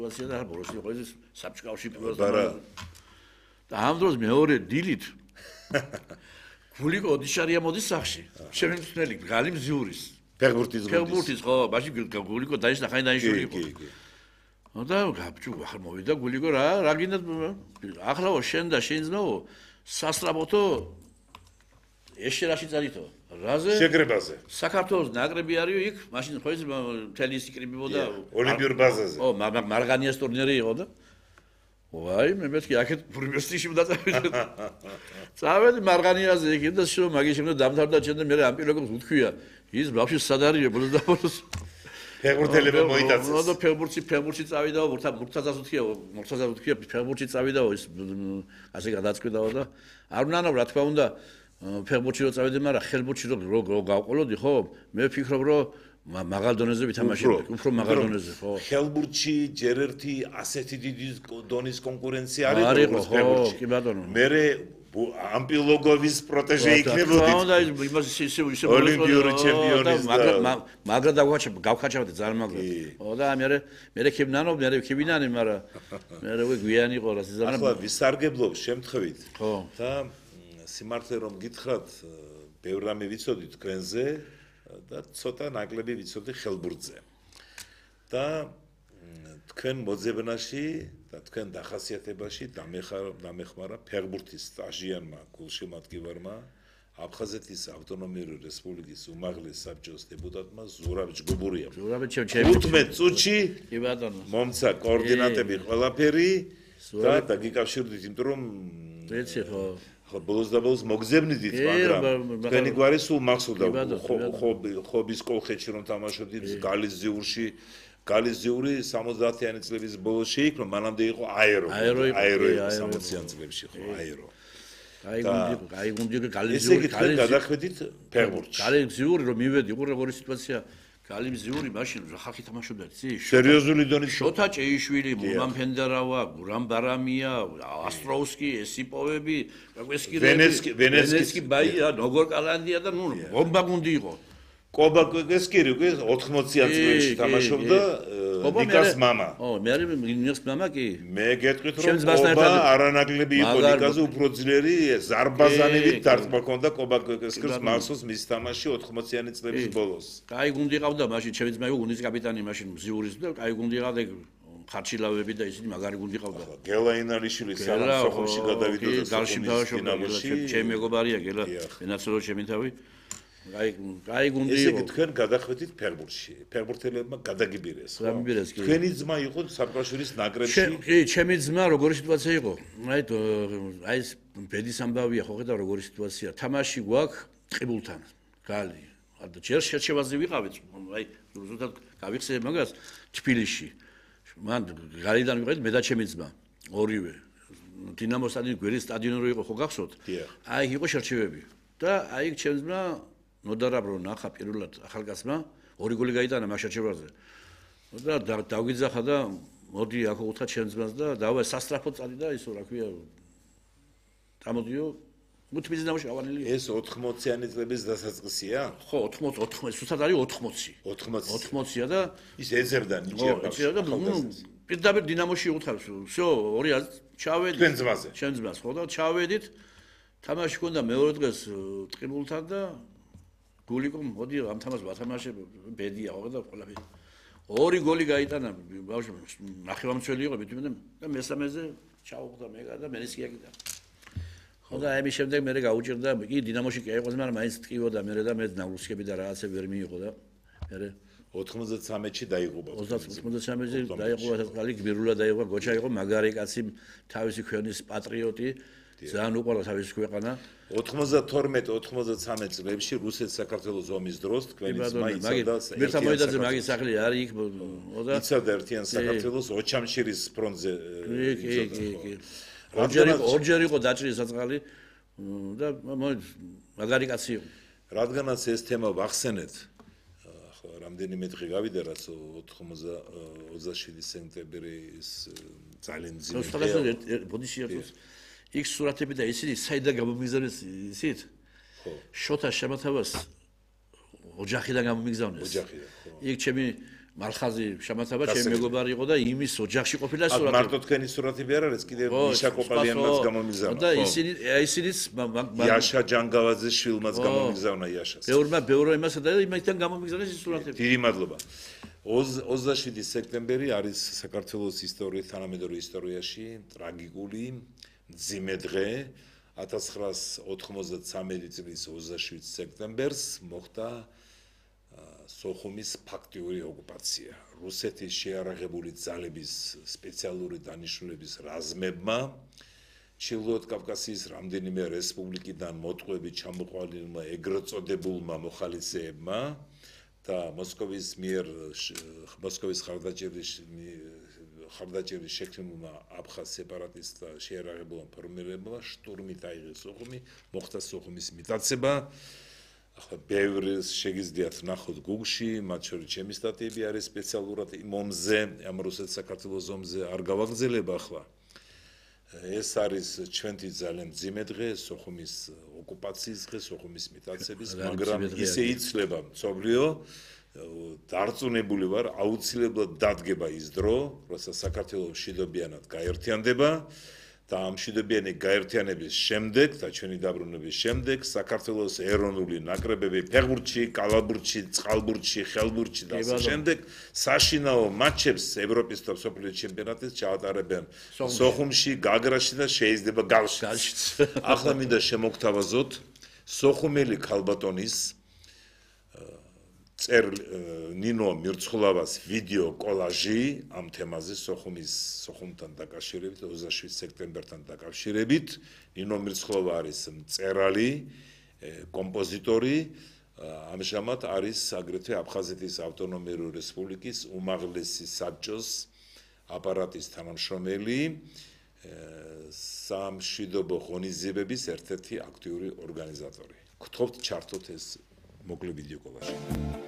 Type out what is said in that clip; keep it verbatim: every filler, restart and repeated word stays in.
სიტუაცია და ბოლოს იყო ეს საბჭკავში პირველ და ამ დროს მეორე დილით გულიკო ოდიშარია მოდის სახში. ჩემი მწვრთნელი გალი მზიურის. ფეხბურთის გუნდის. ფეხბურთის ხო, მაშინ გულიკო დაიშნა ხანი დაიშვილი იყო. და გაბჭუ ახლა მოვიდა გულიკო რა რა გინდა ახლაო შენ და შენ ძმაო სასწრაფოთო ეშერაში წარითო რაზე შეკრებაზე საქართველოს ნაკრები არისო იქ მაშინ ხო ის მთელი ის იკრიბებოდა ოლიმპიურ ბაზაზე ო მარგანიას ტურნირი იყო და ვაი მე მეთქი აქეთ პრემიერში მოდაწევდი წავედი მარგანიაზე იქ და შო მაგის შემდეგ დამთავრდა ჩემ და მე ამ პიროგებს უთქვია ის ბავშვი სად არის ბოლოს და ბოლოს ფეხბურთელები მოიტაცეს. ნუ და ფეხბურთში ფეხბურთში წავიდაო, მურთაზას უთქია, მურთაზას უთქია ფეხბურთში წავიდაო, ის ასე გადაწყვიტაო და არ უნდა რა თქმა უნდა ფეხბურთში რო წავიდე, მაგრამ ხელბურთში რო გავყოლოდი, ხო? მე ვფიქრობ, რომ მაღალ დონეზე ვითამაშებდი, უფრო მაღალ დონეზე, ხო? ხელბურთში ჯერ ერთი ასეთი დიდი დონის კონკურენცია არის, როგორც ფეხბურთში. კი ბატონო. მე ამპილოგოვის პროტეჟე იქნებოდი. და იმას ისე ისე ოლიმპიური ჩემპიონის და მაგრა გავხაჩავდი ძალიან მაგრა. ხო და მე მე ქებნანო, მე ქებინანი, მაგრამ მე რა გვიანი იყო რა სიზამრა. ახლა ვისარგებლობ შემთხვევით. ხო. და სიმართლე რომ გითხრათ, ბევრ რამე ვიცოდი თქვენზე და ცოტა ნაკლები ვიცოდი ხელბურთზე. და თქვენ მოძებნაში და თქვენ დახასიათებაში დამეხმარა ფეხბურთის სტაჟიანმა გულშემატკივარმა აფხაზეთის ავტონომიური რესპუბლიკის უმაღლეს საბჭოს დეპუტატმა ზურაბ ჯგუბურია. ზურაბ თხუთმეტ წუთში კი ბატონო. მომცა კოორდინატები ყველაფერი და დაგიკავშირდით, იმიტომ რომ ეცი ხო ხო ბოლოს და ბოლოს მოგზებნიდით, მაგრამ თქვენი გვარი სულ მახსოვდა ხობის კოლხეთში რომ თამაშობდით გალის ზიურში გალიზიური სამოცდაათიანი წლების ბოლოს შეიქმნა, მანამდე იყო აერო. აერო სამოციანი წლებში ხო, აერო. აი გუნდი, აი გუნდი გალიზიური. ესე იგი თქვენ გადახედით ფეხბურთში. გალიზიური რომ მივედი, უყურე როგორი სიტუაცია. გალიზიური მაშინ რა ხალხი თამაშობდა, იცი? სერიოზული დონის შოთა ჭეიშვილი, მურმან ფენდარავა, გურამ ბარამია, ასტროუსკი, ესიპოვები, კვესკირები, ვენესკი ბაია, ნოგორ კალანდია და ნუ ბომბა გუნდი იყო. კობა კვესკირი უკვე ოთხმოციან წლებში თამაშობდა ნიკას მამა. ო, მე არის ნიკას მამა კი? მე გეტყვით რომ კობა არანაკლები იყო ნიკაზე უფრო ძლიერი ზარბაზანებით დარტყმა ჰქონდა კობა კვესკირს მახსოვს მის თამაში ოთხმოციანი წლების ბოლოს. კაი გუნდი ყავდა მაშინ ჩემი ძმა იყო გუნდის კაპიტანი მაშინ მზიურის და კაი გუნდი ყავდა ხარჩილავები და ისინი მაგარი გუნდი ყავდა. გელა ინალიშვილი სამსახურში გადავიდა და გალში დავაშობდა ჩემი მეგობარია გელა ენაცელო ჩემი თავი. აი, აი გუნდი იყო. ესე თქვენ გადახვედით ფეხბურთში. ფეხბურთელებმა გადაგიბირეს. გადაგიბირეს კი. თქვენი ძმა იყო საფრანგეთის ნაკრებში. კი, ჩემი ძმა როგორი სიტუაცია იყო? აი, აი ეს ბედის ამბავია, ხო ხედავ როგორი სიტუაცია. თამაში გვაქვს ტყიბულთან. გალი. და ჯერ შერჩევაზე ვიყავით. აი, ზუსტად გავიხსენე მაგას თბილისში. მან გალიდან ვიყავით მე და ჩემი ძმა. ორივე. დინამო სტადიონი გვერის სტადიონი რო იყო, ხო გახსოვთ? აი, იყო შერჩევები. და აი ჩემი ძმა ნოდარაბრო ნახა პირველად ახალგაზრდა ორი გოლი გაიტანა მაგ შერჩევაზე. და დავგიძახა და მოდი აქ უთხრა ჩემს ძმას და დავა სასტრაფოდ წადი და ისო რა ქვია დამოდიო მუთმიძე ნამოში ავანილი. ეს ოთხმოციანი წლების დასაწყისია? ხო, ოთხმოცი, ოთხმოცი, სულაც არის ოთხმოცი. ოთხმოცი. ოთხმოცია და ის ეძებდა ნიჭიერ ბავშვს. და პირდაპირ დინამოში უთხავს. всё, ორი ჩავედით. თქვენ ძმაზე. ჩემს ძმას, ხო და ჩავედით. თამაში ჰქონდა მეორე დღეს ტყიბულთან და გულიკო მოდი ამ თამაშს ვათამაშებ ბედია ხო და ყველაფერი ორი გოლი გაიტანა ბავშვი ნახევარმცველი იყო მithmetin და მესამეზე ჩაუღდა მეგა და მერისკი აკიდა ხო და აი მის შემდეგ მე გაუჭირდა კი დინამოში კი აიყვეს მაგრამ მაინც ტყივოდა მე და მე ნავრუსკები და რაღაცა ვერ მიიღო და მე ოცდამეცხრამეტში დაიღუპა ოცდამეცხრამეტში დაიღუპა ხალი გბირულა დაიღუპა გოჩა იყო მაგარი კაცი თავისი ქვეყნის პატრიოტი ძალიან უყვარდა თავის ქვეყანა. ოცდამეთორმეტ ოცდამეთრამეტ წლებში რუსეთ-საქართველოს ომის დროს თქვენი ძმა იცავდა ერთმანეთზე მაგის სახლი არის იქ და იცავდა ერთიან საქართველოს ოჩამშირის ფრონტზე. კი, კი, კი. ორჯერ ორჯერ იყო დაჭრილი საწყალი და მაგარი კაცი იყო. რადგანაც ეს თემა ვახსენეთ, ხო, რამდენიმე დღე გავიდა რაც ოცდაშვიდი სექტემბრის ძალიან ძლიერი დღეა. ბოდიში ერთოს იქ სურათები და ისინი საიდან გამომიგზავნეს ისიც? ხო. შოთა შემოთავას ოჯახიდან გამომიგზავნეს. ოჯახიდან, ხო. იქ ჩემი მალხაზი შამათაბა ჩემი მეგობარი იყო და იმის ოჯახში ყოფილა სურათი. მარტო თქვენი სურათები არ არის, კიდევ მიშა კოპალიანმაც გამომიგზავნა. და ისინი ისინიც იაშა ჯანგავაძის შვილმაც გამომიგზავნა იაშას. ბევრმა ბევრმა იმასა და იმასთან გამომიგზავნა ის სურათები. დიდი მადლობა. ოცდაშვიდი სექტემბერი არის საქართველოს ისტორიის თანამედროვე ისტორიაში ტრაგიკული მძიმე დღე. ათას ცხრაას ოთხმოცდათსამი წლის ოცდაშვიდ სექტემბერს მოხდა სოხუმის ფაქტიური ოკუპაცია. რუსეთის შეარაღებული ძალების სპეციალური დანიშნულების რაზმებმა ჩრდილოეთ კავკასიის რამდენიმე რესპუბლიკიდან მოტყუებით ჩამოყალიბებულმა ეგრეთ წოდებულმა მოხალისეებმა და მოსკოვის მიერ მოსკოვის ხარდაჭერის ხარდაჭერის შექმნილმა აფხაზ სეპარატისტთა შეარაღებულმა ფორმირებებმა შტურმით აიღეს სოხუმი, მოხდა სოხუმის მიტაცება. ახლა ბევრი შეგიძლიათ ნახოთ Google-ში, მათ შორის ჩემი სტატიები არის სპეციალურად იმ ომზე, ამ რუსეთ-საქართველოს ომზე არ გავაგრძელებ ახლა. ეს არის ჩვენი ძალიან მძიმე დღე, სოხუმის ოკუპაციის დღე, სოხუმის მიტაცების, მაგრამ ისე იცვლება მწოლიო, დარწმუნებული ვარ, აუცილებლად დადგება ის დრო, როცა საქართველოს მშვიდობიანად გაერთიანდება. და ამ მშვიდობიანი გაერთიანების შემდეგ და ჩვენი დაბრუნების შემდეგ საქართველოს ეროვნული ნაკრებები ფეხბურთში, კალათბურთში, წყალბურთში, ხელბურთში და ასე შემდეგ საშინაო მატჩებს ევროპის და მსოფლიოს ჩემპიონატის ჩაატარებენ სოხუმში, გაგრაში და შეიძლება გალშიც. ახლა მინდა შემოგთავაზოთ სოხუმელი ქალბატონის წერ ნინო მირცხულავას ვიდეო კოლაჟი ამ თემაზე სოხუმის სოხუმთან დაკავშირებით ოცდაშვიდ სექტემბერთან დაკავშირებით. ნინო მირცხულავა არის მწერალი, კომპოზიტორი, ამჟამად არის აგრეთვე აფხაზეთის ავტონომიური რესპუბლიკის უმაღლესი საბჭოს აპარატის თანამშრომელი, სამშვიდობო ღონისძიებების ერთ-ერთი აქტიური ორგანიზატორი. გთხოვთ ჩართოთ ეს მოკლე ვიდეო კოლაჟი.